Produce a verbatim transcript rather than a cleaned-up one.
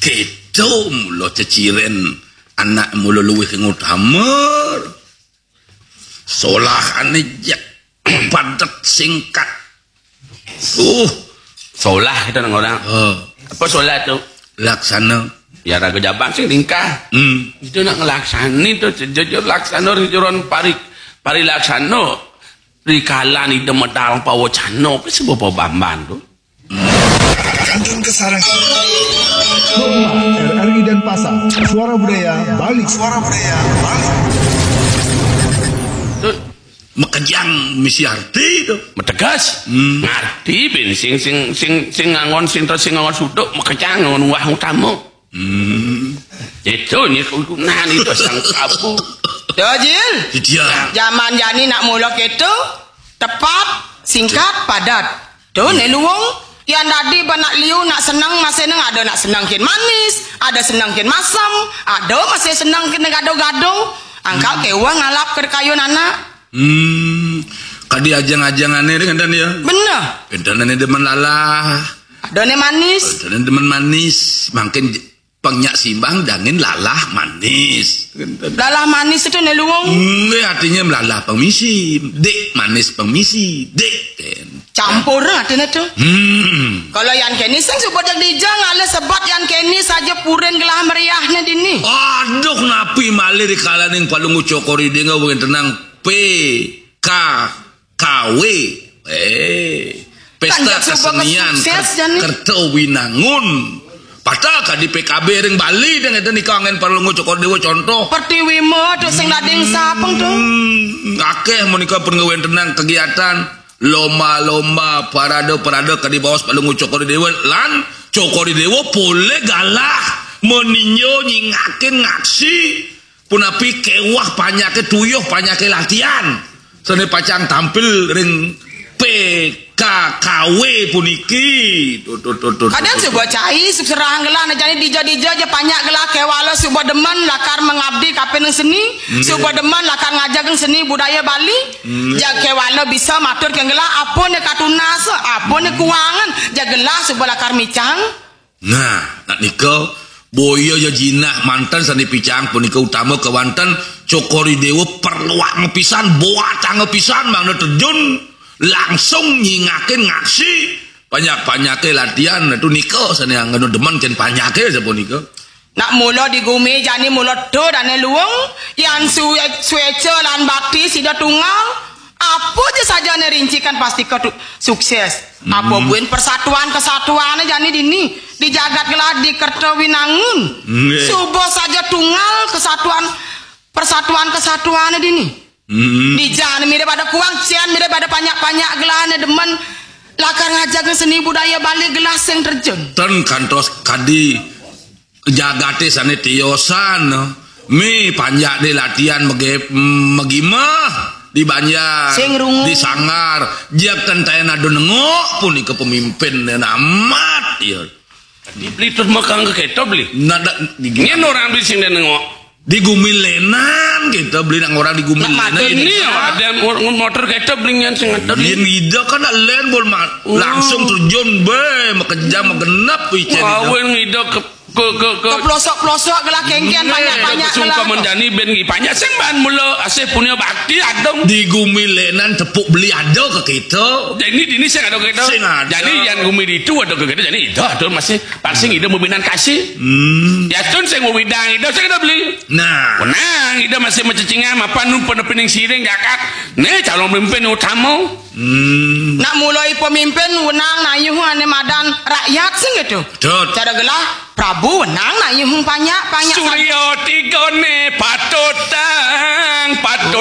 Kéto mula ceciren anak mula luwih ing utama. Solahane jek, padet, singkat. Uh, solah itu nang orang. Oh. Apa solah itu? Laksana. Ya raga jabang sing ringkah. Hmm. Itu nak ngelaksani tu, jujur laksana, jujur pari, pari laksana. Rikala ida medal pawacana, apa sebab pabamban tu? Kantun Kasarang. Rumah R R I Denpasar. Suara Budaya Bali. Suara Budaya Bali. Tu makejang misi arti tu. Mategas. Hmm. Ngarti bin sing, sing, sing, sing ngangon, sing terus sing ngangon suduk, makejang ngangon wah utama. Hmm. Itu ni kegunaan itu sang kabu. Yo, Jil. Dia. Zaman jani nak mula keto, tepat, singkat, padat. Tu, ne luung. Yan dadi ba nak liu, nak seneng, masih neng ada nak seneng kin manis, ada seneng kin masem, ada masih seneng kin gado-gado. Angkal keweh ngalap ke kayun anak. Hmm, kadi ajang-ajangane ring enten ya. Bener. Enten ane demen lalah. Ada ne manis. Enten ane demen manis. Mangkin j-, pang nyak simbang jangin lalah manis. Enten. Lalah manis itu ne luung. Nggih, artinya lalah pang misi. Dik manis pang misi. Dik, ten. Campur artinya tu. Hmm. Kalau yan keni sing suba jeg dija ngalih sebat yan keni saja purin gelah meriahne dini. Aduh, napi malih rikalaning Palungguh Cokor Ida ngawéntenang P K K W. Eh, pesta kesenian sukses, ker-, jani. Kerta Winangun. Padahal kadi P K B ring Bali ding enten nika anggen Palungguh Cokor Dewa contoh. Pertiwi ma tu sing dading sapeng tu. Hmm, akeh menika pun ngawéntenang kegiatan lomba-lomba, parade-parade kadi baos Palungguh Cokor Dewa lan Cokor Dewa polih galah meninjo nyingakin ngaksi punapi kewah panyake tuyuh panyake latihan. Sane pacang tampil ring P K K W puniki. Tut, tut, tut, tut, kadang tut, suba cai, serahang gelah, nah, jani dija-dija ja panjak gelah kewala suba demen lakar mengabdi kapining seni, hmm, suba demen lakar ngajagang seni budaya Bali, hmm, ja kewala bisa matur ke gelah, apa ne katunas, apa ne kuangan, ja gelah suba lakar micang. Nah, nak nika, boya ya jinah manten sane picang punika utama kewanten Cokor Dewa perluang pisan, boatang pisan mangda terjun langsung nyingakin ngaksi panjak-panjake latihan, nah, tu nika sane anggena demen ken panjake sapunika. Nak mula di gumi jani mula tu dane luung, yan su-, sueca lan bakti sida tunggal, apa ja sajane rincikan pasti ketu-, sukses. Hmm. Apa buin persatuan kesatuan jani dini di jagat gelah di Kerta Winangun. Nggih. Suba saja tunggal kesatuan, persatuan kesatuan dini. Hmm. Di jani mira pada kuang, sian mira pada panjak-panjak gelahne demen lakar ngajaga seni budaya Bali gelah sing terjun. Ten kantos kadi jagate sane tiosan. Mi panjak de latihan mege-, megimah di banjar, sing rungu, di sanggar, jak kentayan adu nengok punika pemimpin amat ya. Di Beli terus makang ke keto Beli. Nada di, nyen orang Beli sing nengok. Di Gumilenan kita Beli nang orang di Gumilenan. Ini ya, ada mo-, motor keto Beli nyen sing ada. Yen ida kan nak len bol ma-, oh, langsung terjun be, makejang magenep icen ida. Awen ida ke, ke, ke, ke pelosok-pelosok gelah kengken, nggih, banyak-banyak sungkem gelah. Jani ben ngi panjak sing ban mula asih punya bakti adong. Di Gumilenan tepuk Beli ada ke kita. Jadi dini sing ada ke kita. Sing ada. Jadi yang Gumi ditu ada ke kita. Jadi ida ada masih parsing ida meminan kasih. Hmm. Ya tun sing widang ida sing ada Beli. Nah. Menang ida masih mencecingan mapan nu penepining siring jakat. Ne calon pemimpin utama. Hmm. Nak mulai pemimpin wenang nayuh ane madan rakyat sing gitu. Betul. Cara gelah Prabu wenang nayuh panjak, panjak. Surya tigane patutang, patut